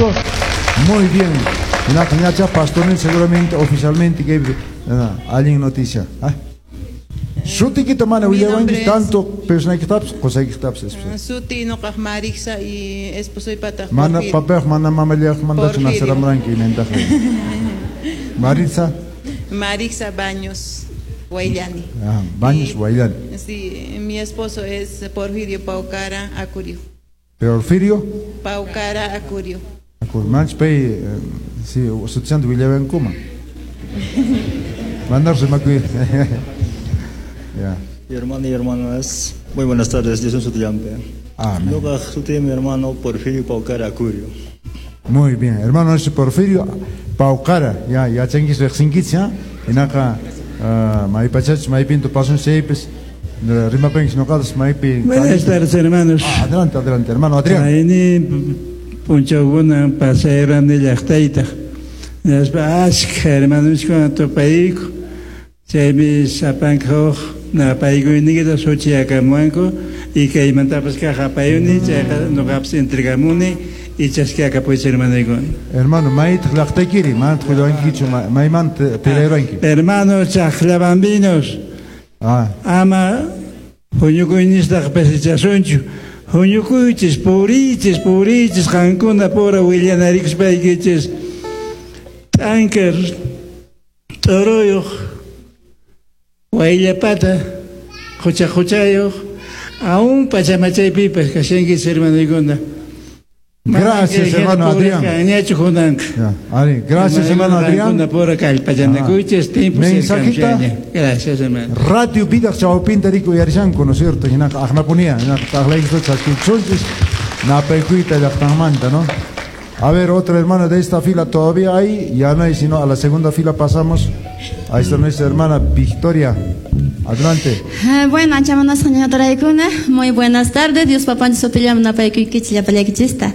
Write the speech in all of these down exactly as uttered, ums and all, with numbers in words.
cierto? Muy bien. Hinaqa ñacha pastornin seguramente oficialmente que allin noticia. ¿Ah? Sutiykita mana willawanki tanto personaykitapas qusaykitapas. Suti nuqaq Marixa y esposoypataq Mana papaq mana mamallaq mandachu naceramranki inentaq. Maritza. Marixa Baños Guayllani. Ah, Baños Guayllani. Sí, mi esposo es Porfirio Paucara Acurio. Porfirio Paucara Acurio. Acurio. Manch pay sí, sutichanta willawankuma. Mandar rimakuy. Ya. Mi hermano y hermanas, muy buenas tardes, yo soy Sutiyampe. Amén. Nuqa suti mi hermano Porfirio Paucara Acurio. Muy bien, hermano es Porfirio Paucara, ya yachankis riqsinkichis, ya. Hinaqa maypachachus maypinto pasun chaypis rimapankis nuqatas maypi. Buenas tardes, hermanos. Ah, adelante, adelante, hermano Adrián. Ayni punchawkuna pasayrani llaqtayta. Hinaspa achka hermanoskuna tupayku. Chaymi sapanka huk napaykuyniykita suchiyakamuwanku y kaymantapas kaq apayuni chayqa nuqapas entregamuni y chaskiyakapuychis hermanoykuna. Hermano, maytaq llaqtaykiri, manataq willawankichu maymanta tilayranki. Hermano chaqlabambinos. Ah. Ama huñukuyninchiktaqa pisichasunchu. Huñukuychis, puriychis, puriychis, qankuna pura willanarikuspaykichis. T'ankar t'uruyuq wayllapata qucha quchayuq aún pachamachaypipas kashankichis hermanoykuna. Gracias, hermano Adrián. Ya, gracias, hermano Adrián. Mensajita. Gracias, hermano. Radio Vida Chawpinta riku yarishanku, ¿no es cierto? Hinaqa aqnapunía, hinaqa taqlaykichis chaskiykusunchis, napaykuyta llaqtanmanta, ¿no? A ver, otra hermana de esta fila todavía hay, ya no hay, sino a la segunda fila pasamos. Ahí está nuestra hermana Victoria. Adelante. Bueno, muy buenas tardes. Dios papanchis sutillami napaykuykichis llapallaykichista.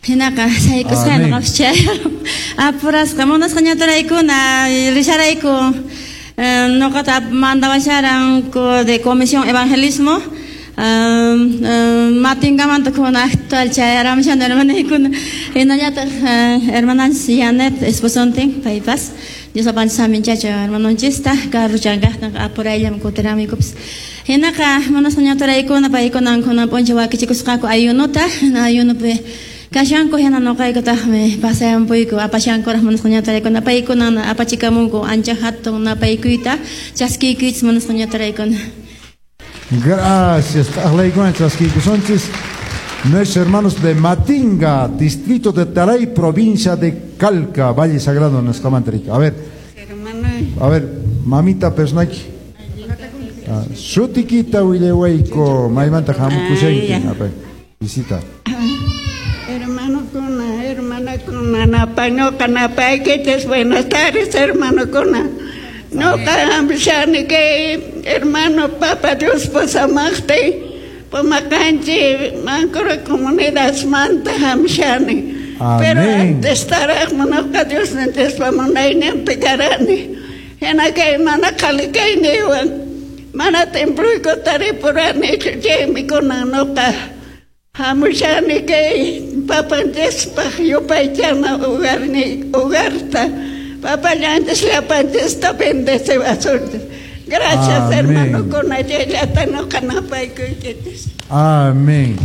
Hinaqa chaykusqa nuqapas chay apurasqa munasqa ñataraykuna risharayku nuqata mandawasharanku de Comisión Evangelismo. Matingamanta kuna actual chayaramushan hermanaykuna hinallataq hermananchis Janet esposontin paypas Dios papanchis saminchachu hermanonchista carruchankaqtan apurayllam kutiramuykupas hinaqa munasqa ñataraykuna paykunan kunan p'unchay wakichikusqaku ayunuta ayunupi kashanku hina nuqaykutaqmi pasayampuyku apashankuraq munasqa ñataraykuna paykunan apachikamunku ancha hatun napaykuyta chaskiykuychis munasqa ñataraykuna. Gracias. Nuestros hermanos de Matinga, distrito de Taray, provincia de Calca, Valle Sagrado, Nescamantrica. A ver, a ver, mamita personaki. Sutiquita willawayko, maymanta hamukushanki. Visita. Hermano kuna, hermana kuna, napañoqa napaykichis, buenas tardes, hermano kuna. No kamshani que hermano Papa Dios posamaqti pomakanchi mankura comunidad manta hamshani. Pero antes taraq manoqa Dios nanchis pamunayninpi karani. Hina kay mana qalikayniwan mana temployku taripuranichu chaymi kunan nuqa hamushani kay papanchispaq yupaychana hogarni hogarta. Papallantes llapanchista bendeciwasunchis. Gracias, amén. Hermano, con chayllata nuqa napaykuykichis. Amén.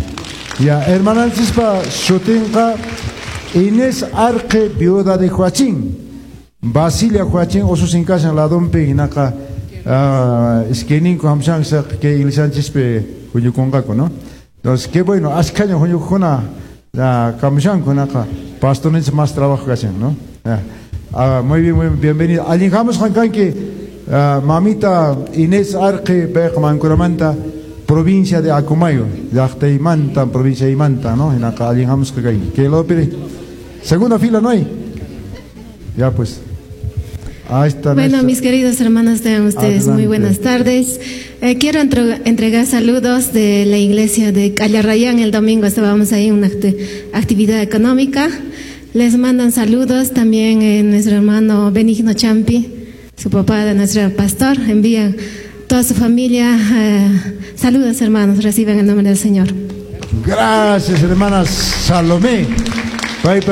Ya, hermananchispa sutinqa Inés Arque, viuda de Joachín. Basilia Joachín, ususin kashan ladunpi hinaqa iskayninku hamshansa kay iglesianchispi huñukunqaku, ¿no? Entonces, qué bueno, ashkaña huñukuna kamushanku hinaqa pastorninchis más trabajo kashan, ¿no? Ya. Ah, muy bien, muy bien, bienvenido. Allin hamusqan kanki, uh, mamita Inés Arque, payqa Mankuramanta, provincia de Acomayo, llaqtaymanta, provincia de Imanta, ¿no? Hinaqa allin hamusqa kanki. ¿Qué lo pide? Segunda fila no hay. Ya pues. Ahí está. Bueno, nuestra... mis queridos hermanos, tengan ustedes Adelante. Muy buenas tardes. Eh, quiero entregar saludos de la iglesia de Callarrayán. El domingo estábamos ahí en una act actividad económica. Les mandan saludos también eh, nuestro hermano Benigno Champi, su papá de nuestro pastor, envía toda su familia. Eh, saludos, hermanos, reciben el nombre del Señor. Gracias, hermana Salomé.